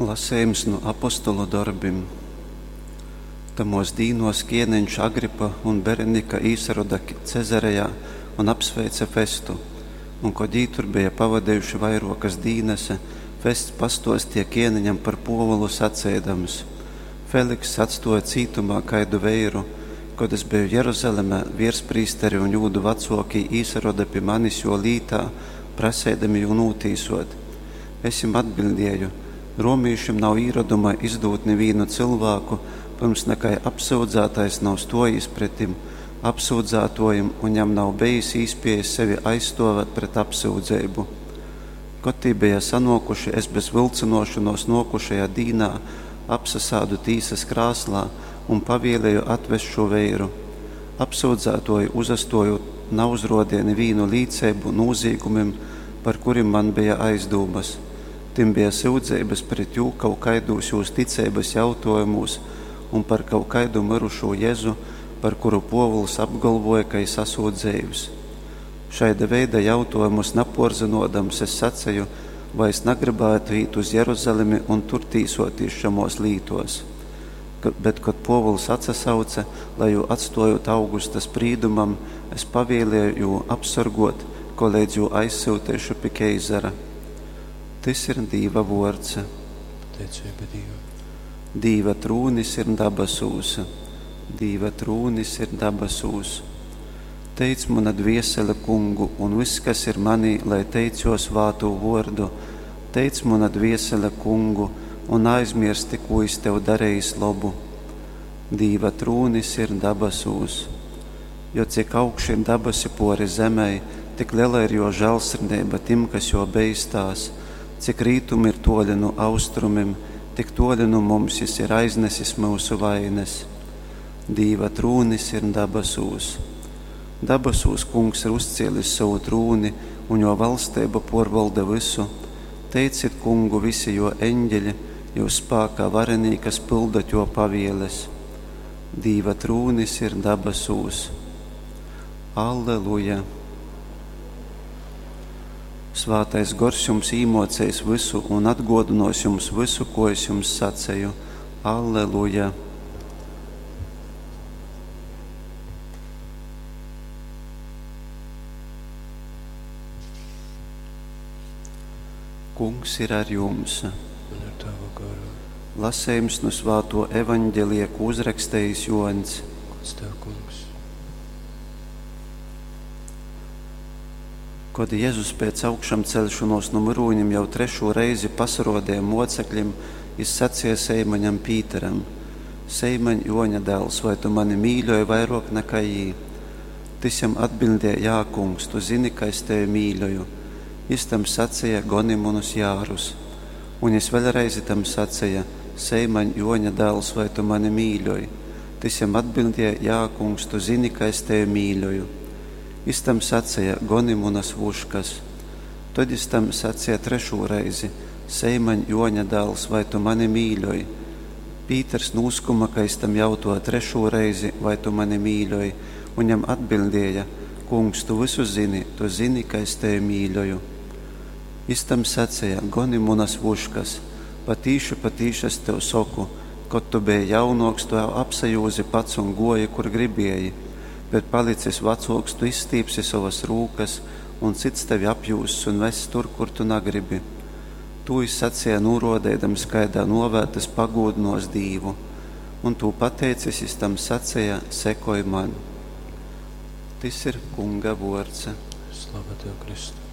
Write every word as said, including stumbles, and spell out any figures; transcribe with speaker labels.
Speaker 1: Lasejums nu Apostolu dorbim. Tamōs dīnōs kēneņš Agripa un Berenika īsaroda Cezarejā un apsveice Festu. Un, kod jī tur beja pavadejuši vairōkas dīnas, Fests pastōsteja kēneņam par Pōvulu saceidams: Felikss atstōja cītumā kaidu veiru. Kod es beju Jeruzalemē, vērsprīsteri un jūdu vacōkī īsaroda pi manis jō lītā, praseidami jū nūtīsōt. Es jim atbiļdēju: Romīšim nav īroduma izdūt nivīnu cylvāku, pyrms nakai apsyudzātais nav stōjīs pretim apsyudzātōjim un jam nav bejis īspējas sevi aizstōvēt pret apsyudzeibu. Kod tī beja sanōkuši, es bez vylcynōšonōs nōkušajā dīnā apsasādu tīsas krāslā un pavēlēju atvest šū veiru. Apsyudzātōji uzastōjūt nauzrōdeja nivīnu līceibu nūzīgumim, par kurim man beja aizdūmas. Tim beja syudzeibas pret jū kaut kaidūs jūs ticeibas jautōjumūs un par kaut kaidu myrušū Jezu, par kuru Pōvuls apgolvōja, ka jys asūt dzeivs. Šaida veida jautōjumus napōrzynōdams, es saceju, vai es nagrybātu īt uz Jeruzalemi un tur tīsōtīs šamōs lītōs. Bet, kod Pōvuls atsasauce, lai jū atstōjūt Augusta sprīdumam, es pavēlēju jū apsorgōt, koleidz jū aizsyuteišu pi keizara. Tys ir Dīva vōrds.
Speaker 2: Pateiceiba Dīvam.
Speaker 1: Dīva trūnis ir dabasūs. Dīva trūnis ir dabasūs. Teic muna dviesele kungu, un vyss, kas ir manī, lai teic jō svātū vōrdu. Teic muna dviesele kungu, un naaizmiersti, kū jys tev darejis lobu. Dīva trūnis ir dabasūs. Jo cik augši ir dabasi pōri zemei, tik lela ir jō žālsirdeiba tim, kas jō beistās. Cik rītumi ir tōli nu austrumim, tik tōli nu mums jys ir aiznesis myusu vaines. Dīva trūnis ir dabasūs. Dabasūs Kungs ir uzcēlis sovu trūni, un jō valsteiba pōrvolda vysu. Teicit Kungu visi jō eņgeļi, jyus spākā varenī, kas pyldot jō pavieles. Dīva trūnis ir dabasūs. Alleluja! Svātais Gors jums īmōceis vysu un atgōdynōs jums vysu, ko es jums saceju. Alleluja! Kungs ir ar jums.
Speaker 2: Un ar tavu garu.
Speaker 1: Lasejums nu svātō evaņģelija, ko uzrakstejis Jōņs.
Speaker 2: Gods tev, Kungs.
Speaker 1: Kod Jezus pēc augšamceļšonōs nu myrūnim jau trešū reizi pasarōdeja mōceklim, jys saceja Seimaņam Pīteram: Seimaņ, Jōņa dāls, vai tu mani mīļoj vairōk nakai jī? Tys jam atbiļdēja: Jā, Kungs, tu zini, ka es tevi mīļoju. Jys tam saceja: Goni munus jārus. Un jys vēļ reizi tam saceja: Seimaņ, Jōņa dāls, vai tu mani mīļoj? Tys jam atbiļdēja: Jā, Kungs, tu zini, ka es tevi mīļoju. Jys tam saceja: Goni munas vuškas. Tod jys tam saceja trešū reizi: Seimaņ, Jōņa dāls, vai tu mani mīļoj? Pīters nūskuma, ka jys tam jautōja trešū reizi: Vai tu mani mīļoj? Un jam atbiļdēja: Kungs, tu vysu zini, tu zini, ka es tevi mīļoju. Jys tam saceja: Goni munas vuškas. Patīši, patīši es tev soku, kod tu beji jaunōks, tu apsajūzi pats un gōji, kur gribēji, bet palicis vecōks, tu izstīpsi sovas rūkas, un cyts tevi apjūzs un vess tur, kur tu nagribi. Tū jys saceja, nūrōdeidams, kaidā nōvē tys pagūdynōs Dīvu. Un tū pateicis, jys tam saceja: Sekoj man. Tys ir Kunga vōrds.
Speaker 2: Slava tev, Kristu.